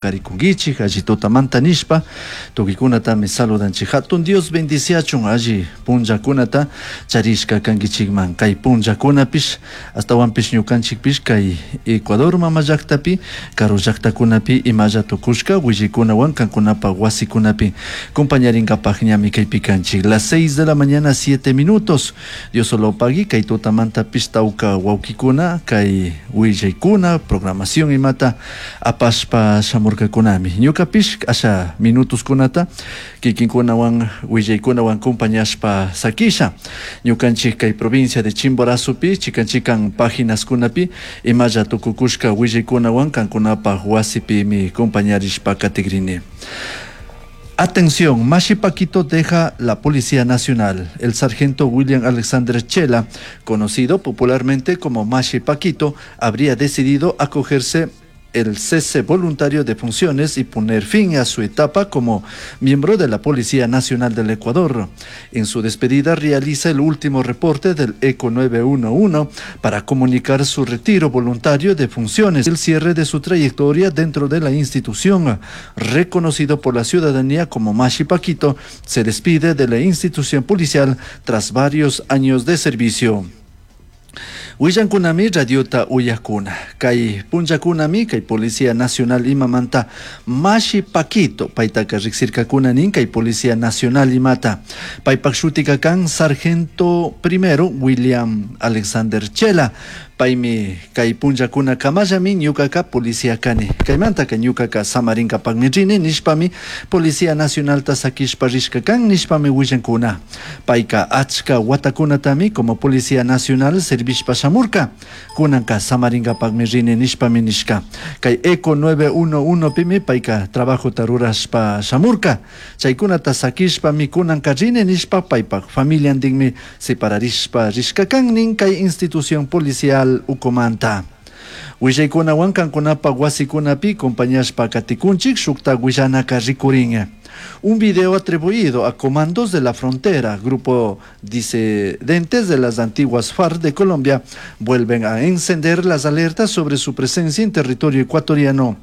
Karikunkichik alli tutamanta nishpa tukuykunatami saludanchik. Hatun Dios bendiciachun alli punllakunata charishka kankichikman. Kay punllakunapish ashtawanpish ñukanchikpish kay Ecuador mama llaktapi karu llaktakunapi imalla tukushka willaykunawan kankunapak wasikunapi compañarinkapak ñami kaypi kanchik. Las 6 de la mañana 7 minutos. Dios solo pagui kay tutamantapish tawka wawkikuna kay willaykuna programación imata apashpa shamurkakunami. Ñukapish asha minutoskunata kikinkunawan willaykunawan compañashpa sakisha. Ñukanchik kay provincia de Chimborazopi chikan chikan paginaskunapi imalla tukukushka willaykunawan kankunapak wasipimi compañarishpa katikrini. Atención, Mashi Paquito deja la Policía Nacional. El sargento William Alexander Chela, conocido popularmente como Mashi Paquito, habría decidido acogerse el cese voluntario de funciones y poner fin a su etapa como miembro de la Policía Nacional del Ecuador. En su despedida realiza el último reporte del ECO 911 para comunicar su retiro voluntario de funciones y el cierre de su trayectoria dentro de la institución. Reconocido por la ciudadanía como Mashi Paquito, se despide de la institución policial tras varios años de servicio. Willankunami radiota uyakuna. Kay punllakunami kay Policía Nacional imamanta Mashi Paquito paytaka riksirkakuna nin kay Policía Nacional imata. Paypak shutika kan Sargento Primero William Alexander Chela. Paymi kay punllakuna kamallami ñukaka policía kani. Kaymantaka ñukaka samarinkapakmi rini nishpami Policía Nacionalta sakishpa rishka kan nishpami willankuna. Payka achka watakunatami como Policía Nacional servishpa shamurka. Kunanka samarinkapakmi rini nishpami nishka. Kay ECO 911 pimi payka trabajota rurashpa shamurka. Chaykunata sakishpami kunanka rini nishpa paypak familiantinmi separarishpa rishka kan nin kay institución policial ukumanta. Willaykunawan kankunapak wasikunapi compañashpa katikunchik shukta willanaka rikurin. Un video atribuido a Comandos de la Frontera, grupo disidentes de las antiguas FARC de Colombia, vuelven a encender las alertas sobre su presencia en territorio ecuatoriano.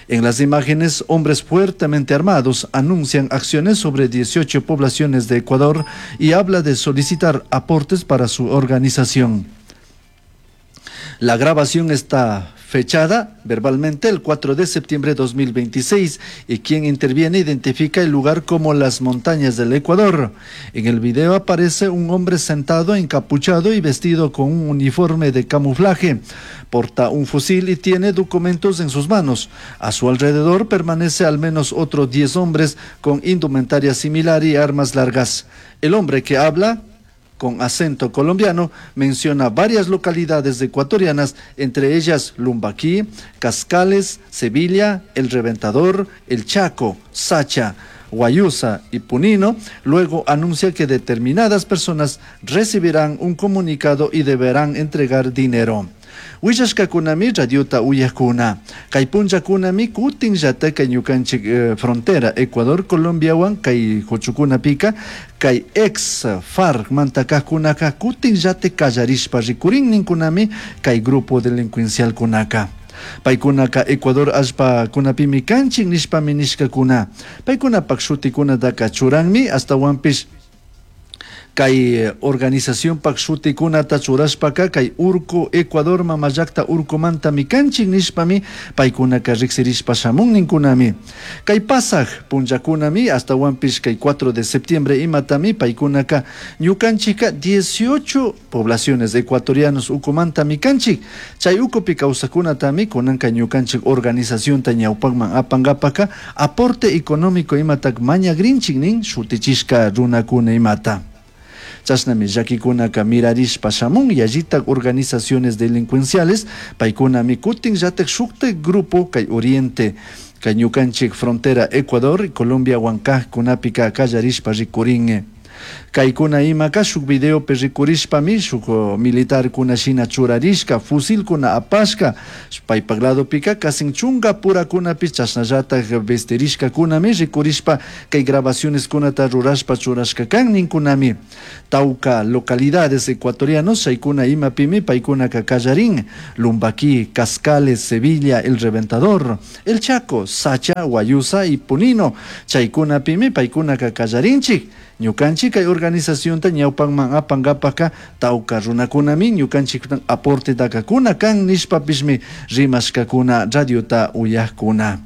En las imágenes, hombres fuertemente armados anuncian acciones sobre 18 poblaciones de Ecuador y habla de solicitar aportes para su organización. La grabación está fechada verbalmente el 4 de septiembre de 2026 y quien interviene identifica el lugar como las montañas del Ecuador. En el video aparece un hombre sentado, encapuchado y vestido con un uniforme de camuflaje. Porta un fusil y tiene documentos en sus manos. A su alrededor permanece al menos otros 10 hombres con indumentaria similar y armas largas. El hombre que habla con acento colombiano, menciona varias localidades ecuatorianas, entre ellas Lumbaquí, Cascales, Sevilla, El Reventador, El Chaco, Sacha, Guayusa y Punino. Luego anuncia que determinadas personas recibirán un comunicado y deberán entregar dinero. Willashkakunami radiota uyakuna. Kay punllakunami kutinllata kay ñukanchik frontera Ecuador Colombiawan kay huchukunapika kay ex FARC mantakajkunaka kutinllata kallarishpa rikurin ninkunami kay grupo delincuencialkunaka. Paykunaka Ecuador allpakunapimi kanchik nishpami nishkakuna. Paykunapak shutikunataka churanmi ashtawanpish kay organización pak shutikunata churashpaka kay urku Ecuador mama llakta urkumantami kanchik nishpami paykunaka riksirishpa shamun ninkunami. Kay pasaj punllakunami ashtawanpish kay 4 de septiembre imatami paykunaka ñukanchikka 18 poblaciones ecuatorianos ukumantami kanchik. Chay ukupi kawsakunatami kunanka ñukanchik organizacionta ñawpakman apankapaka aporte económico imatak mañagrinchik nin shutichishka runakuna imata. Chashnami llakikunaka mirarishpa shamun yallitak organizaciones delincuenciales paykunami kutin llatak shuktak grupo kay Oriente kay ñukanchik frontera Ecuador y Colombia huancajkunapika kallarishpa rikurin. Caicuna imaca shuk videopi rikurishpami shuk militarcuna shina churarishca, fusilcuna apashca, paipak ladopika kasin chunga purakunapish chashnallatak vestirishkakunami rikurishpa kay grabacioneskunata rurashpa churashka kan ninkunami. Tauca localidades ecuatorianos chaykuna imapimi paykunaka kallarin: Lumbaquí, Cascales, Sevilla, El Reventador, El Chaco, Sacha, Guayusa y Punino. Chaykunapimi paykunaka kallarinchik. Ñukanchik kay organizacionta ñawpanman apankapaka tauca runakunami ñukanchik aporte takakuna kan nishpapishmi rimashkakuna radiota uyakuna.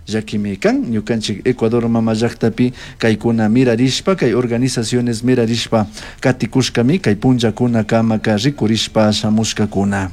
Llakimi kan ñukanchik Ecuador mama llaktapi kaykuna mirarishpa, kay organizaciones mirarishpa katikushkami kay punllakuna kamaka rikurishpa shamushkakuna.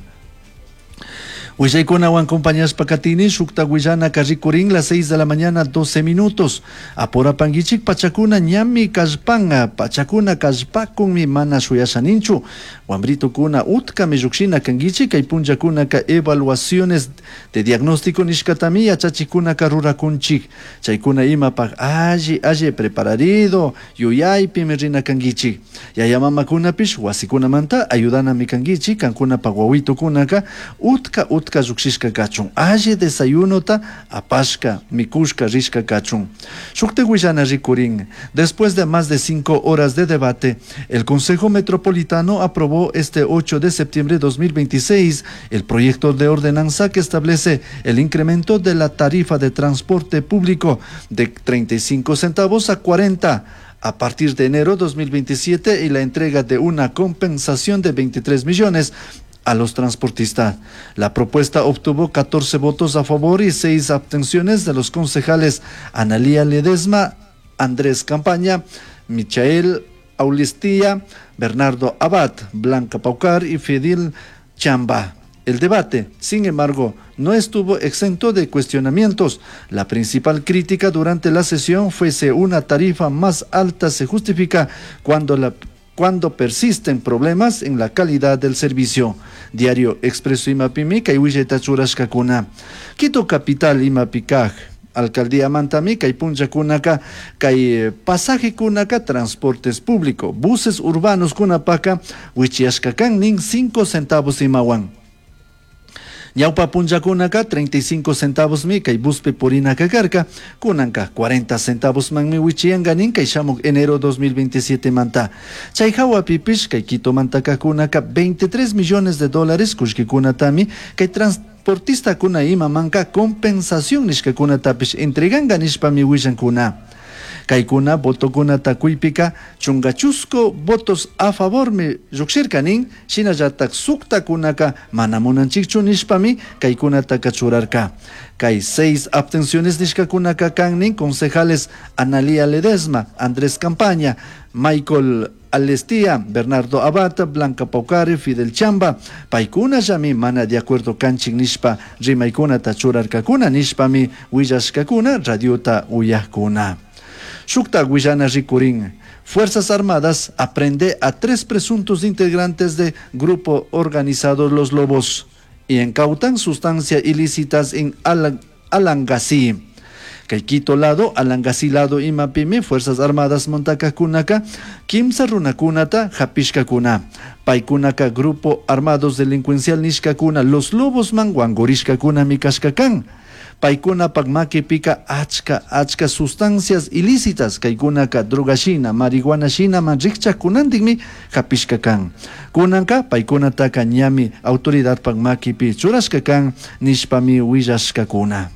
Willaykunawan acompañashpa katini shukta willanaka rikurin las 6 de la mañana 12 minutos. Apurapanguichik pachakuna ñami kallpanga, pachakuna kallpakunmi mana shuyashaninchu. Wambritukuna utkami llukshina kanguichik kay punllakunaka evaluaciones de diagnóstico nishkatami yachachikunaka rurakunchik. Chaykuna imapaq alli alli prepararido yuyaypimi rina kanguichik. Yaya mamakunapish wasikunamanta ayudanami kanguichik kankunapaq wawitukunaka utka utka llukshishka kachun, alli desayunota apashka mikushka rishka kachun. Shukta willana rikurin. Después de más de 5 horas de debate, el Consejo Metropolitano aprobó este 8 de septiembre de 2026 el proyecto de ordenanza que establece el incremento de la tarifa de transporte público de 35 centavos a 40 a partir de enero 2027 y la entrega de una compensación de 23 millones a los transportistas. La propuesta obtuvo 14 votos a favor y 6 abstenciones de los concejales Analía Ledesma, Andrés Campaña, Michael Aulistía, Bernardo Abad, Blanca Paucar y Fidel Chamba. El debate, sin embargo, no estuvo exento de cuestionamientos. La principal crítica durante la sesión fue si una tarifa más alta se justifica cuando persisten problemas en la calidad del servicio. Diario Expreso imapimi kay willayta churashkakuna. Quito Capital imapi kaj alcaldía mantami kay punllakunaka kay pasaje kunaka transportes público, buses urbanos kunapaka wichiyashka kan nin 5 centavos imawan. Ñawpa punllakunaka 35 centavos mi kay buspi purinaka karka, kunanka 40 centavos manmi wichiyanka nin kay shamuk enero 2027 manta. Chay hawapipish kay Quito mantaka kunaka 23 millones de dólares kullkikunatami kay transportistakuna imamanka compensación nishkakunatapish entreganka nishpami willankuna. Kaykuna votokunata kuypika chunga chusku votos a favor mi llukshirka nin, shinallatak suktakunaka mana munanchikchu nishpami kaykunataka churarka. Kay seis abstenciones nishkakunaka kan nin concejales Analía Ledesma, Andrés Campaña, Michael Alestía, Bernardo Abata, Blanca Paucari, Fidel Chamba, paykuna llami mana de acuerdo kanchik nishpa rimaykunata churarkakuna nishpami willashkakuna radiota uyakuna. Shukta willana rikurin. Fuerzas Armadas aprehende a tres presuntos integrantes de grupo organizado Los Lobos y incautan sustancias ilícitas en Alangasí. Kay Quito lado, Alangasí lado imapimi, Fuerzas Armadas mantakakunaka, kimsa runakunata hapishkakuna. Paykunaka grupo armados delincuencial nishkakuna, Los Lobos man wankurishkakuna mi kashkakan. Paykunapak makipika achka achka sustancias ilícitas kaykunaka droga shina, marihuana shina man rikchakkunantikmi hapishka kan. Kunanka paykunataka ñami autoridadpak makipi churashka kan nishpami willashkakuna.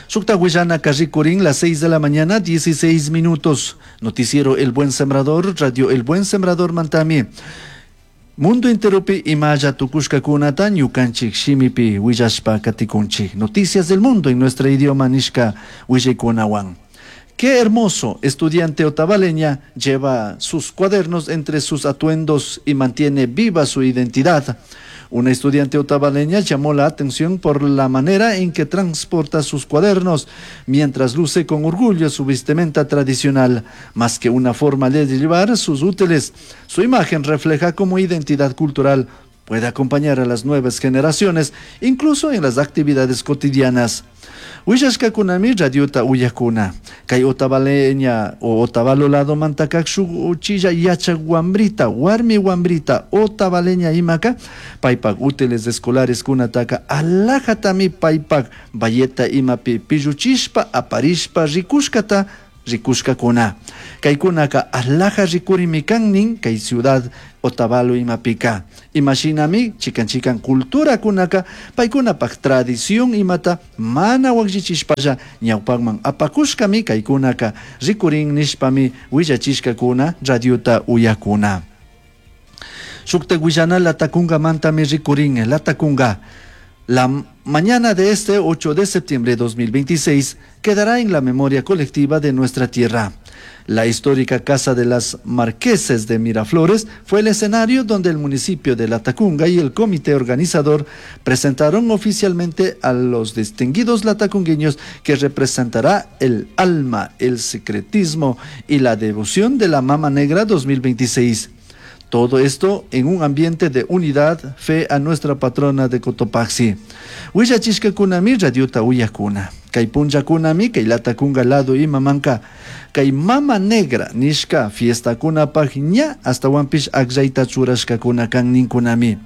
Shukta willanaka rikurin, las 6 de la mañana, 16 minutos. Noticiero El Buen Sembrador, Radio El Buen Sembrador mantami. Mundo enteropi imalla tukushkakunata ñukanchik shimipi willashpa katikunchik. Noticias del mundo en nuestro idioma nishka willaykunawan. Qué hermoso estudiante otavaleña lleva sus cuadernos entre sus atuendos y mantiene viva su identidad. Una estudiante otavaleña llamó la atención por la manera en que transporta sus cuadernos, mientras luce con orgullo su vestimenta tradicional. Más que una forma de llevar sus útiles, su imagen refleja como identidad cultural Puede acompañar a las nuevas generaciones, incluso en las actividades cotidianas. Willashkakunami radiota uyakuna. Kay Otavaleña o Otavalo lado mantakak shuk uchilla yachak wambrita, warmi wambrita, Otavaleña imaka, paypak útiles escolares kunataka alajatami paypak bayeta imapi pilluchishpa aparishpa rikushkata rikushkakuna. Kaykunaka alaja rikurimi kan nin kay ciudad Otavalo imapika. Imashinami chikan chikan culturakunaka paykunapak tradición imata mana wakllichishpalla ñawpakman apakushkami kaykunaka rikurin nishpami willachishkakuna radiota uyakuna. Shuktak willana Latacungamantami rikurin. Latacunga. La mañana de este 8 de septiembre de 2026 quedará en la memoria colectiva de nuestra tierra. La histórica Casa de las Marqueses de Miraflores fue el escenario donde el municipio de Latacunga y el comité organizador presentaron oficialmente a los distinguidos latacungueños que representará el alma, el secretismo y la devoción de la Mama Negra 2026. Todo esto en un ambiente de unidad, fe a nuestra patrona de Cotopaxi. Willachishkakunami radiota uyakuna. Kay punllakunami kay Latacunga lado imamanka. Kay Mama Negra nishka fiestakunapaj ña astawanpish akllayta churashkakuna kan ninkunami.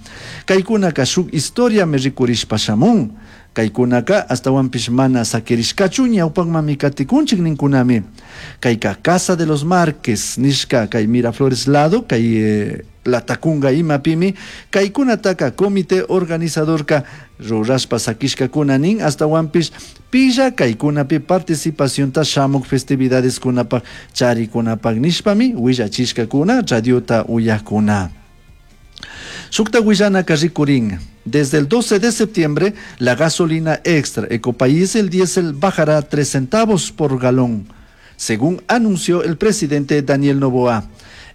Kaykunaka shuk historiami rikurishpa shamun. Kaykunaka astawanpish mana sakirishkachu ñawpakmami katikunchik ninkunami. Kayka Casa de los Márquez nishka kay Miraflores lado kay Latacunga imapimi kaykunataka comité organizadorka rurashpa sakishkakuna nin astawanpish pilla kaykunapi participacionta shamuk festividades kunapak charikunapak nishpami willachishkakuna radiota uyakuna. Shukta willanaka rikurin. Desde el 12 de septiembre, la gasolina extra Ecopaís, el diésel bajará 3 centavos por galón, según anunció el presidente Daniel Noboa.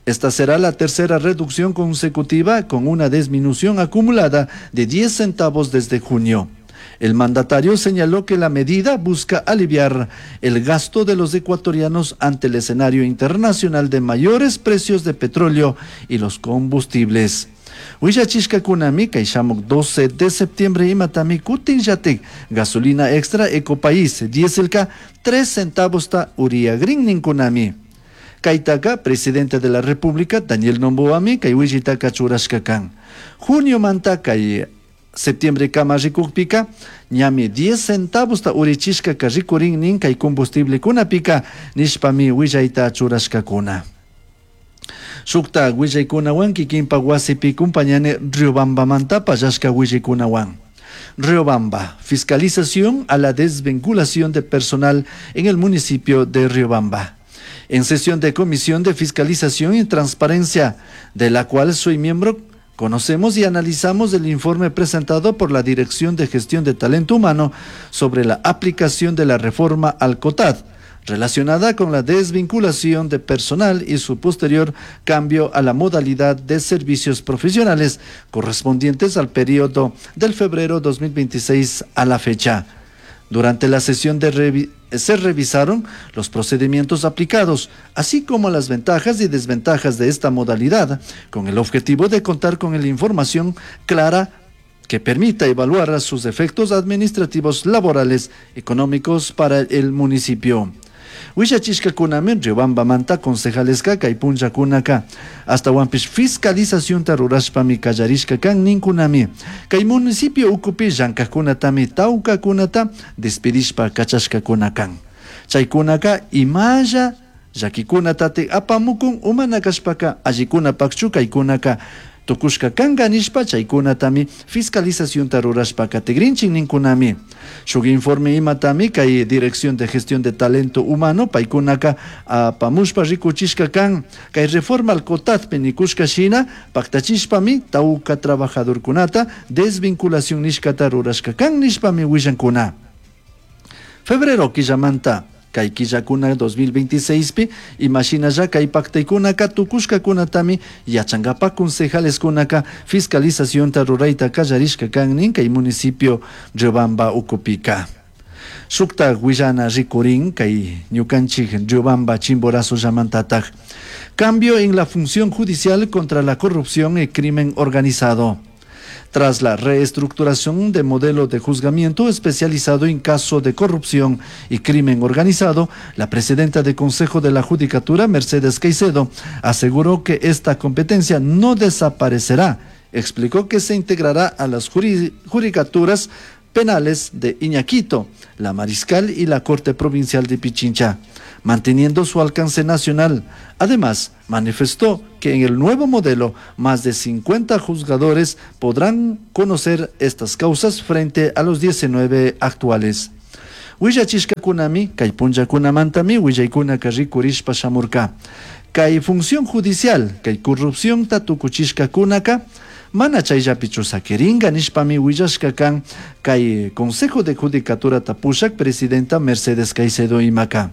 Esta será la tercera reducción consecutiva con una disminución acumulada de 10 centavos desde junio. El mandatario señaló que la medida busca aliviar el gasto de los ecuatorianos ante el escenario internacional de mayores precios de petróleo y los combustibles. Willachishkakunami kay shamuk 12 de septiembre imatami kutinllatik gasolina extra Ecopaís dieselka 3 centavos ta uriagrin ninkunami. Kaytaka presidente de la República Daniel Noboami kay willitaka churashka kan. Junio manta kay septiembre kama rikukpika ñami 10 centavos ta urichishka ka rikurin nin kay combustible kunapika nishpami willayta churashkakuna. Shukta willaykunawan kikinpak wasipi kumpañani Riobambamanta pallashka willaykunawan. Riobamba, fiscalización a la desvinculación de personal en el municipio de Riobamba. En sesión de Comisión de Fiscalización y Transparencia, de la cual soy miembro, conocemos y analizamos el informe presentado por la Dirección de Gestión de Talento Humano sobre la aplicación de la reforma al COTAD, relacionada con la desvinculación de personal y su posterior cambio a la modalidad de servicios profesionales correspondientes al periodo del febrero 2026 a la fecha. Durante la sesión se revisaron los procedimientos aplicados, así como las ventajas y desventajas de esta modalidad, con el objetivo de contar con la información clara que permita evaluar sus efectos administrativos, laborales, económicos para el municipio. Willachishkakunami Riobambamanta concejaleska kay punllakunaka astawanpish fiscalizacionta rurashpami kallarishka kan ninkunami. Kay municipio ukupi llankajkunatami tawkakunata despedishpa kachashkakuna kan. Chaykunaka imalla llakikunatati apamukun umana kashpaka allikunapakchu kaykunaka tukushka kanka nishpa chaykunatami fiscalizacionta rurashpa katigrinchin ninkunami. Shuk informe imatami kay Dirección de Gestión de Talento Humano paykunaka apamushpa rikuchishka kan kay reforma al COTADpi nikushka shina paktachishpami tawka trabajadorkunata desvinculación nishkata rurashka kan nishpami willankuna. Febrero killamanta kay killakuna 2026pi imashinalla kay paktaykunaka tukushkakunatami yachankapak concejaleskunaka fiscalizacionta rurayta kallarishka kan nin kay municipio Riobamba ukupika. Shukta willana rikurin kay ñukanchik Riobamba Chimborazo llamantataj. Cambio en la función judicial contra la corrupción y crimen organizado. Tras la reestructuración de modelo de juzgamiento especializado en caso de corrupción y crimen organizado, la presidenta del Consejo de la Judicatura, Mercedes Caicedo, aseguró que esta competencia no desaparecerá. Explicó que se integrará a las judicaturas penales de Iñaquito, la Mariscal y la Corte Provincial de Pichincha, manteniendo su alcance nacional. Además, manifestó que en el nuevo modelo más de 50 juzgadores podrán conocer estas causas frente a los 19 actuales. Willachishkakunami, kay punllakunamantami willaykunaka rikurishpa shamurka. Kay función judicial, kay corrupcionta tukuchishkakunaka, mana chayllapichu saquiringa nishpami willashka kan kay Consejo de Judicatura pushak presidenta Mercedes Caicedo imaka.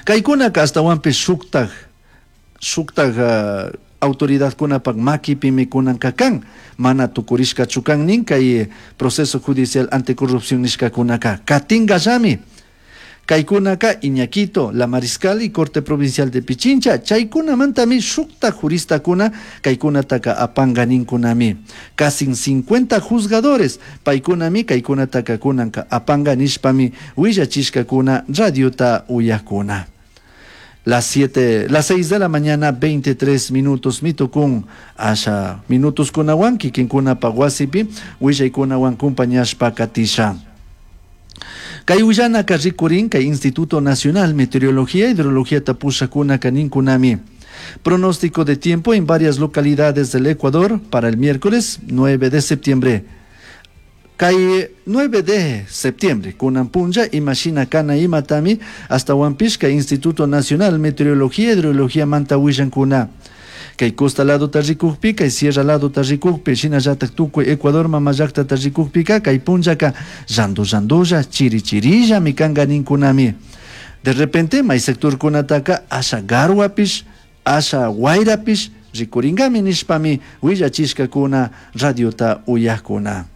Kaykunaka ashtawanpish shuktaj autoridadkunapak makipimi kunanka kan, mana tukurishkachu kan nin kay proceso judicial anticorrupción nishkakunaka katingallami. Kaykunaka Iñaquito, La Mariscal y Corte Provincial de Pichincha, chaykunamantami shukta juristakuna kaykunataka apanga ninkunami. Casi 50 juzgadores paykunami kaykunataka kunanka apanga nishpami willachishkakuna radiota uyakuna. Las siete, las 6 de la mañana, 23 minutos, mitukun, asha minutos kunawan, kikinkuna paguasipi, willaykunawan kumpañashpa katisha. Kay willanaka rikurin, kay Instituto Nacional Meteorología, Hidrología tapushakuna kaninkunami. Pronóstico de tiempo en varias localidades del Ecuador para el miércoles 9 de septiembre. Kay 9 de septiembre, kunan punlla, imashina kana imatami, hasta kay Instituto Nacional Meteorología, Hidrología manta willankuna. Kay costa lado tarrikukpi, kay sierra lado tarrikukpi, shinallatak tukuy Ecuador mamallakta tarrikukpika, kay punllaka llandu llandulla, chiri chirilla mikanga ninkunami. De repente, may sector kunataka asha garwapish, asha wayrapish, rikuringami nishpami willachishkakuna radiota uyakuna.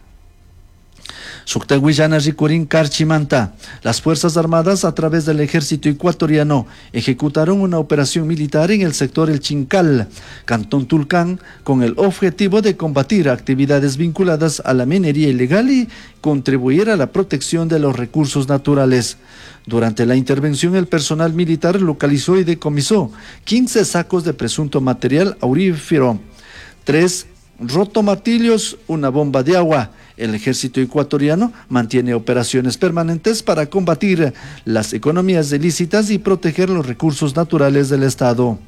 Shukta willana rikurin Carchimanta. Las Fuerzas Armadas, a través del Ejército Ecuatoriano, ejecutaron una operación militar en el sector El Chincal, Cantón Tulcán, con el objetivo de combatir actividades vinculadas a la minería ilegal y contribuir a la protección de los recursos naturales. Durante la intervención, el personal militar localizó y decomisó 15 sacos de presunto material aurífero, 3 rotomartillos, una bomba de agua. El ejército ecuatoriano mantiene operaciones permanentes para combatir las economías ilícitas y proteger los recursos naturales del Estado.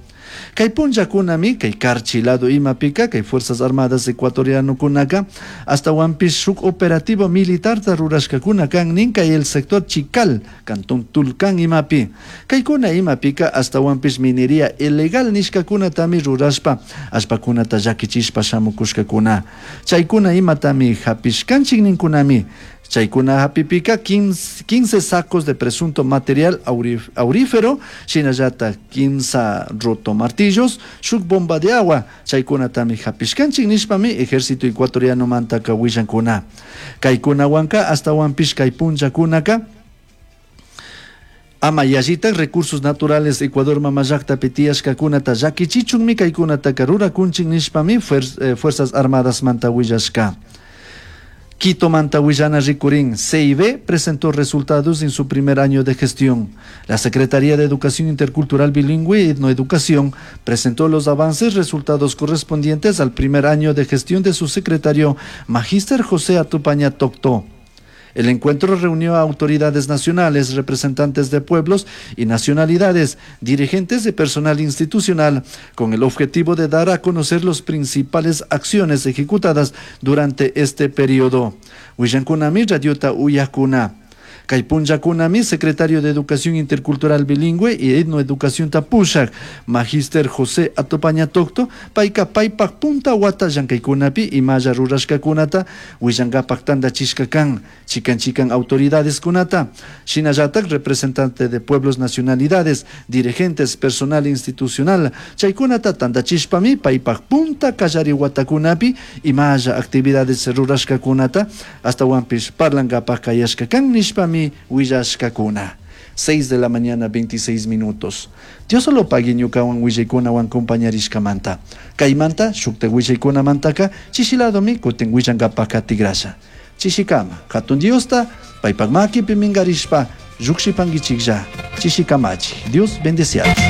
Kay punllakunami, kay Carchi lado imapika, kay Fuerzas Armadas Ecuatoriano kunaka, hasta shuk operativo militar rurashkakuna kan nin kay el sector Chical, Cantón Tulcán imapi. Kaykuna imapika hasta minería ilegal nishkakunatami rurashpa, allpakunata llakichishpa shamukushkakuna. Chaykuna imatami hapishkanchik ninkunami. Chaykuna hapipika 15 sacos de presunto material aurífero, shinallata 15 rotomartillos, shuk bomba de agua, chaykunatami hapishkanchik nishpami ejército ecuatoriano mantaka willankuna. Kaykunawanka hasta kay punllakunaka ama yallitak recursos naturales Ecuador mamallaktapi tiyashkakunata llakichichunmi kaykunataka rurakunchik nishpami Fuerzas Armadas manta willashka. Quito manta willana rikurin, CIB presentó resultados en su primer año de gestión. La Secretaría de Educación Intercultural Bilingüe y Etnoeducación presentó los avances resultados correspondientes al primer año de gestión de su secretario, Magíster José Atupaña Tocto. El encuentro reunió a autoridades nacionales, representantes de pueblos y nacionalidades, dirigentes de personal institucional, con el objetivo de dar a conocer las principales acciones ejecutadas durante este periodo. Willankunami radiota uyakuna. Kay punllakunami, secretario de Educación Intercultural Bilingüe y Etnoeducación Tapushak, Magíster José Atupaña Tocto, payka paypak punta wata llankaykunapi imalla rurashkakunata, willankapak tandachishka kan, chikan chikan autoridades kunata, shinallatak representante de pueblos nacionalidades, dirigentes, personal institucional, chaykunata tandachishpami paypak punta kallari watakunapi imalla actividades rurashkakunata, hasta wampish parlankapak kayashka kan nishpami willashkakuna. 6 de la mañana 26 minutos. Dios lo pagui ñukawan willaykunawan compañarishkamanta. Kaymanta shukta willaykunamantaka chishiladomi kutin willankapaka tigrasha. Chishikama hatun Diosta paypak makipi minkarishpa llukshipankichiklla. Chishikamachi. Dios bendeciados.